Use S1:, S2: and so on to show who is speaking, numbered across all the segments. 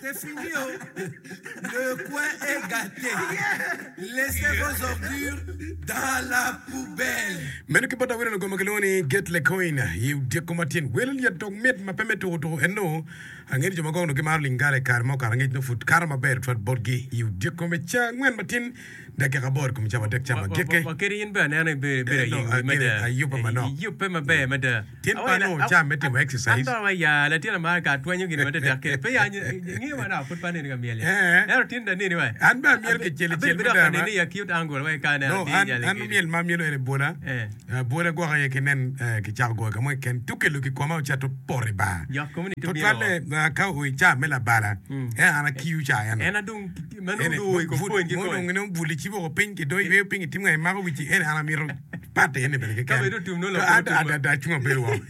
S1: C'est fini oh! Le coin est gâté. Laissez vos ordures dans la poubelle.
S2: Meno ki bot awene lugo ma kilwongo ni Get Lecoin i odyeko matin. Wel lyet dok mit ma pe me tuko tuko en nongo angeyo ni jo ma gwok nongo gimaro lingala i kare ma okato angec nongo pud kato maber tutwal botgi i odyeko me ca angwen matin Dakika aboro i kom cawa adek ca ma gike.
S3: Wa kadi in bene aneno ibedo ibedo
S2: Eh, no,
S3: ayeng wi
S2: agene,
S3: mada.
S2: ayubbe
S3: Eh,
S2: manok.
S3: Iyubbe maber mada.
S2: Tin pe
S3: Awaci
S2: anongo
S3: la-
S2: ca me timo
S3: an
S2: exercise.
S3: to wa ya latin amara ka atwenyo gin matetek kede pe ya ngiyo wa dok pud pe aneni ka myel ya.
S2: Eh.
S3: Ento tin dong aneni wa.
S2: An bene amyelo kicel
S3: Abedo
S2: icel
S3: bedo
S2: mada
S3: ka
S2: ma.
S3: neni i acute angle wa ka aneno
S2: No,
S3: atir
S2: an,
S3: nyali
S2: an
S3: kede.
S2: myel ma amyelo ene bwola.
S3: Eh.
S2: Eh, bwola gwok aye ki nen eh, kicako goyo ka mo keken tukelo ki koma ocato poto i bar.
S3: Yok komi ni tubino
S2: Tutwalle
S3: woko.
S2: eh, ka oo i ca me labala,
S3: Mm.
S2: eh, an akiyo ca eno.
S3: En adong ma nongo
S2: Ene,
S3: dong oo i kom
S2: pud-
S3: pwony ki
S2: mo
S3: kony.
S2: dong nongo buli cibo woko piny ki do iyweyo piny itimo nga imako wici ene an amito pate ene bene
S3: Ka
S2: keken.
S3: bedo otum nongo lok
S2: Ka
S3: otum.
S2: adada acung abedo woko.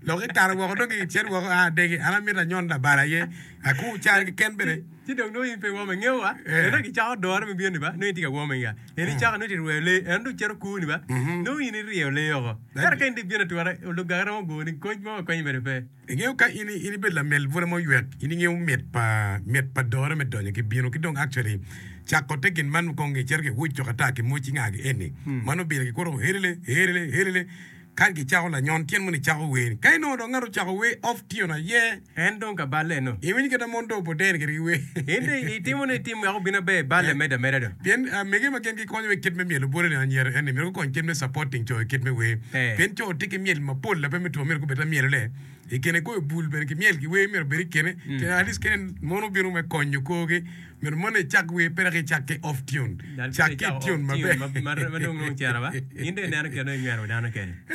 S2: Lok ikato woko dong icit woko a adegi an amito anyon labala aye akur cal keken bene.
S3: Ci dong nongo in pe iwome ingeyo wa
S2: Eh.
S3: ento kicako dore me bino ni ba nongo in tye ka wome nga en icako nongo itye rweyo lee en dong cito kuu ni ba nongo in iryeyo lee oko ento ka in dong ibino atura luganga romo goni koc mo ma konyi bene pe.
S2: Ingeyo ka in in ibedo lamel bwura ma oywek in ingeyo mit pa mit pa dore me donyo ki bino ki dong actually cako te gin man kong icito ki wuc cok ata ki moc inga ki eni man obino ki kuto helele helele helele Ka gicako lanyon, tyen moni cako wer. Ka inongo dong ngat ocako wer off tune aye.
S3: En dong ka balle eno.
S2: Iwinyo kit ma mon dong obodene kwede ki wer.
S3: In dong itimo ni itim wek obin aber balle medo ameda dong.
S2: Pien mege ma gin gikonyo wa i kit me myelo bwolo ni anyira eni myero gukony kit me supporting co i kit me wer. Pien co tye ki myel mapol lape me two myero gubed lamyelone. I kine goyo bul bene ki myel ki wer myero obed i kine. Pien at least kene mon obino me konyo korgi. Myero mono icak wer pe dok icak ki off tune. Cak ki i tune maber.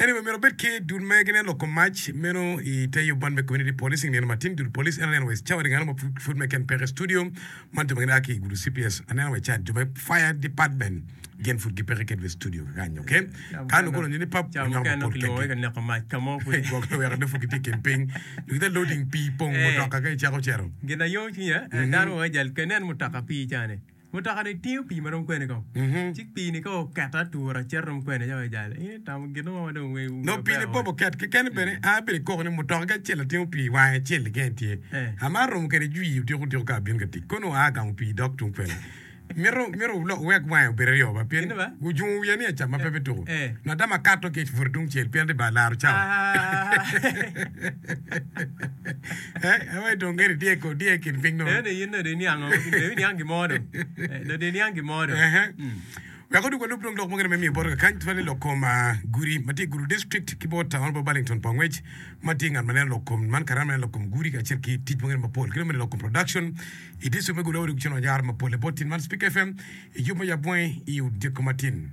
S2: Anyway, myero obed ki dul ma gineno lok kom mac meno i te yub man me community policing nino matin. Dul police en aneno wa i cawa ni ngano ma pud me ken peke i studio man jo ma gin a ki i gudo CPS aneno wa i chat jo me fire department gin pud gipeke kedwa i studio kakany okay. Ka nongo kono ni pap onyoko mapol keken. Gwok weko nongo pud gitye i kin piny. Gitye loading pii pong mutoka ka icako cito.
S3: Gin aye cwinya, dano weng jal ka inen mutoka pii cani, mutoka ni tingo pii marom kwene kong, ci pii ni ka oketo atura cito rom kwene ca weng jal in itamo gin mo ma dong weng
S2: No pii ni pop oket keken bene a bedo ikoko ni mutoka ki acel atingo pii wange acel keken tye. Amaro romo kede jwii odiko odiko ka abino ka tic kono aa gamo pii dok tung kwene. Mito mito wulok wuwek wange obed aryo ba pien ojungo wiya ni acam ma pe bituko. Ngat dama akato ki i put tung cel pien ati ba laro cawa. Eh, awe dong ngeni diye ko diye kin piny no.
S3: Ene in dong iniang dong iniang gin mo dong. Dong iniang gin mo dong.
S2: Ehe. Wek odug walub dong lok mukene me miyo bot kakany tutwal ni lok kom gudi ma tye i Gulu District ki bot Honourable Burlington Pongwec ma tye ngat ma neno lok kom man karama neno lok kom gudi kacel ki tic mukene mapol ki dong bene lok kom production I district me Gulu odug cen wanyaro mapol i bot tin man Spik FM i yub me yab wange i odiko matin.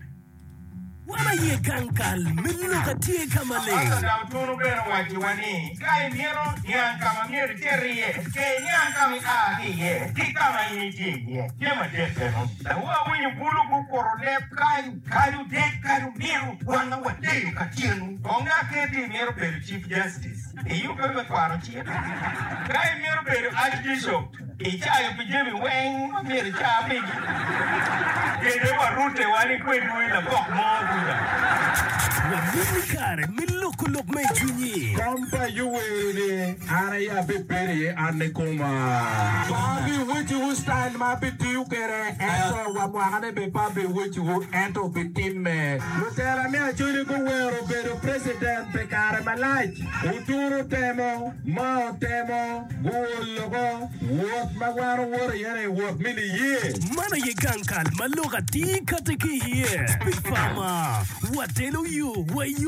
S4: Wan aye gang kal me lok atye ka maleng.
S5: Pastor Dautunu bene owacciwa ni, Ka imito niang ka ma myero icit iye, ke iniang ka ma ia ki iye ki ka ma in itye iye. Jami adek eno. Dong awinyo bulu gukuto leb kany, kadi odek, kadi omito, wanga waleyo ka tyenu. Kong aketi imito bedo Chief Justice. Iyubbe me kwano cik. Ka imito bedo Archbishop, icayo pi jami weng ma myero ica pigi. Kede warute wa ni kwedwu i labok mo kuca.
S4: Wamini kare me loko lok ma i cwinyi.
S6: Kom pa Yoweri-ni an aye abibedo iye an nikoma. Pe abiwecciwu citayil ma abitiyo kwede, ento wa mwakane bene pe abiwecciwu, ento obitimme. Lutela me Acholi guwero bedo preciden pi kare malac. Oturu temo, ma otemo, guol loko. Wot ma wan owoto iye-ni wot me niye.
S4: Man aye gang kal ma lok atir kati ki iye. Big Pharma, watelo yo wa i yo.